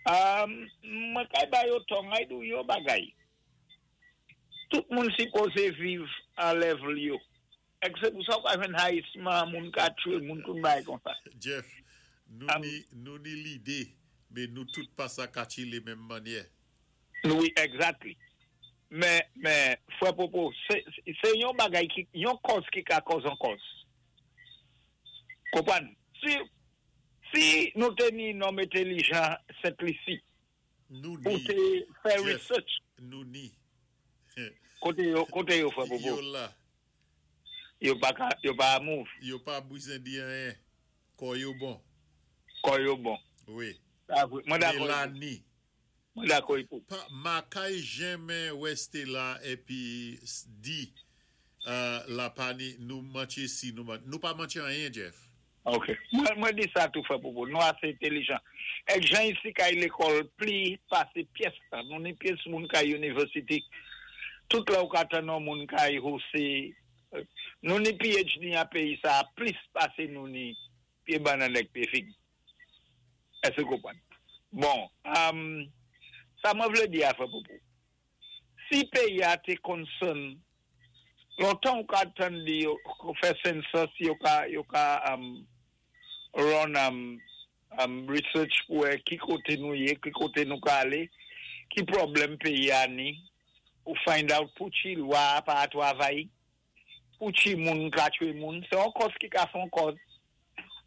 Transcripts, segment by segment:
Mwen kay ba yo tò, mwen di yon bagay. Tout moun sipozé viv an level yo. Èk sé pou sa ou ka jwenn hayisman, moun ka tchwé, moun tout bagay kon sa. Jeff, nou ni nou ni lidé, mé nou tout pa sa ka chilé menm mannyè. Wi, exactly. Men, men, frè Popo, sé, sé yon bagay ki, yon kòz ki ka kòz an kòz. Konpwann? Si, si nou té ni nonm entelijan Sent Lisi, Nou pou ni, té fè Jeff, research. nou ni. Koté yo, koté yo, frè Popo? Yo la. Yo pa ka, yo pa move. Yo pa bwizen di anyen. Kò yo bon. Kò yo bon. Wi. Sa vwé. Mwen dakò épou. Mélanie. Mwen dakò épou. Pa, makay jenmen wè Stella épi di la pa ni nou mantye si nou man, nou pa mantye anyen Jeff. Ok. Mwen, mwen di sa tou, frè Popo. Nou asé entelijan. Èk jan isi kay lékòl pli pasé pyès tan. Nou ni pyès moun kay university. Tout lè ou ka tann yon moun kay hosé. Nou ni PhD an péyi sa plis pasé nou ni pyé bannann èk pyé fig. Èské ou konpwann? Bon, sa mwen vlé di a, frè Popo. Si péyi a té concern, lontan ou ka tann di yo fè census, yo ka yo ka run research pou wè ki koté nou yé, ki koté nou ka alé, ki pwoblèm péyi a ni, pou find out pou ki lwa pa twavay, pou ki moun ka tchwé moun, sé yon kòz ki ka fè yon kòz.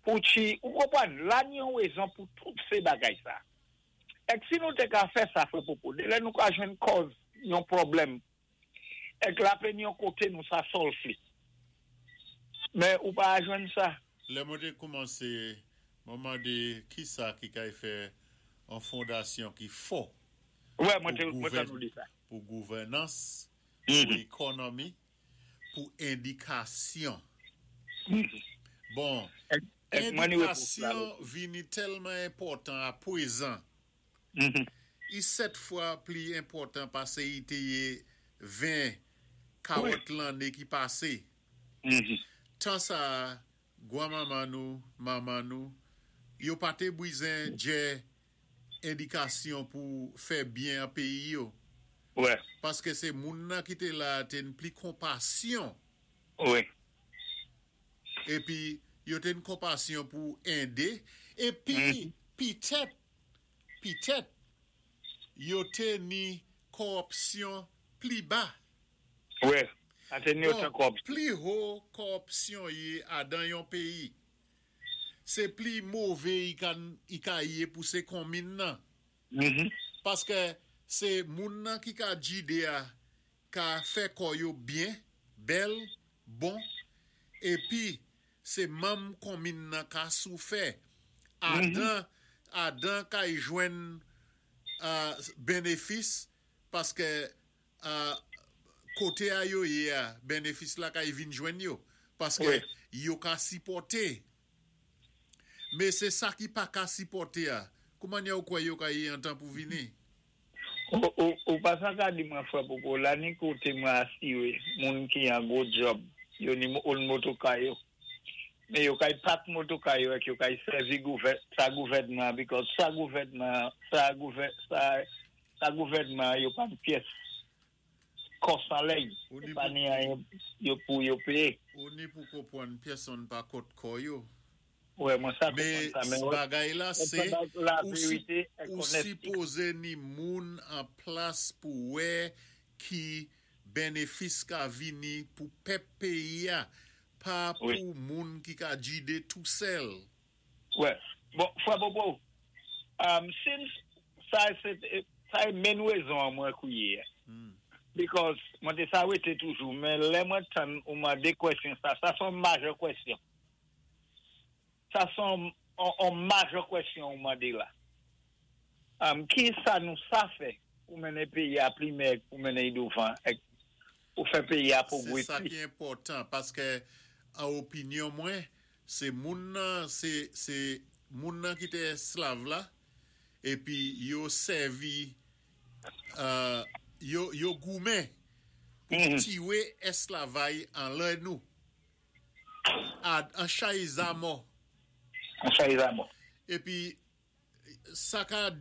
Pou ki, ou konpwann, la ni yon wézon pou tout sé bagay sa. Èk si nou té ka fè sa, frè Popo, dé lè nou ka jwenn kòz yon pwoblèm, èk la ni yon koté nou sa solve li. Men ou pa jwenn sa. Lè mwen té koumansé, mwen mandé ki sa ki kay fè an fondasyon ki fò Wè, mwen pou té mwen gouvèn tann ou di sa. pou gouvènans, pou ékonomi, pou édikasyon. Bon, Èk èk mwen ni wépons la. édikasyon vini tèlman enpòtan a pwézan. I sèt fwa pli enpòtan pasé i té yé 20, 40 lanné ki pasé. Tan sa, gwanmanman nou, manman nou, yo pa té bwizen djè édikasyon pou fè byen an péyi yo. Paské sé moun nan ki té la té n pli konpasyon. Épi yo té n konpasyon pou édé. Épi pitèt, pitèt, yo té ni kòwòpsyon pli ba. Wè, pa té ni Bon, otan kòwòpsyon. pli ho kòwòpsyon yé adan yon péyi, sé pli mové i ka, i ka yé pou sé konmin nan. Paské sé moun nan ki ka jidé a ka fè kò yo byen, bèl, bon, épi sé manm konmin nan ka soufè. Adan, adan kay jwenn bénéfis paské koté a yo yé a, bénéfis la kay vin jwenn yo paské yo ka sipòté. Mé sé sa ki pa ka sipòté a. Kouman ou kwè yo ka yé an tan pou vini? Ou, ou, ou pa sa ka di mwen, frè Popo, la ni koté mwen asiré, moun ki an gwo job, yo ni own motoka yo. Men yo kay pak motoka yo èk yo kay sèvi gouvè, sa gouvèdman, because sa gouvèdman, sa gouvè, sa, sa gouvèdman yo pa pyès kòs an lèy, Ou ni pa pou ni anyen yo pou yo péyé. Ou ni pou konpwann pyèsonn pa kont kò yo. Wè, mwen sa Mé konpwann sa, men wè, bagay la mwen sé pandan la ou si, vérité èk ou honesty. sipozé ni moun an plas pou wè ki bénéfis ka vini pou pèp péyi a, pa pou moun ki ka jidé tou sèl. Wè, bon, frè Popo, since sa sé sa é menn wézon an mwen kwié. Because mwen té sa wété toujou, men lè mwen tann ou mandé kwèsyon sa, sa son major kwèsyon. Sa son on major kwèsyon ou mandé la. Ki sa nou sa fè pou mennen péyi a pli mèg, pou mennen i douvan, èk pou fè péyi a Sé pwogwé sa pli. ki enpòtan paské an opinyon mwen, sé moun nan sé sé moun nan ki té èsklav la épi yo sèvi yo yo goumen pou tiwé èsklavay anlè nou. A an chay zamò. An chay zamò. Épi sa ka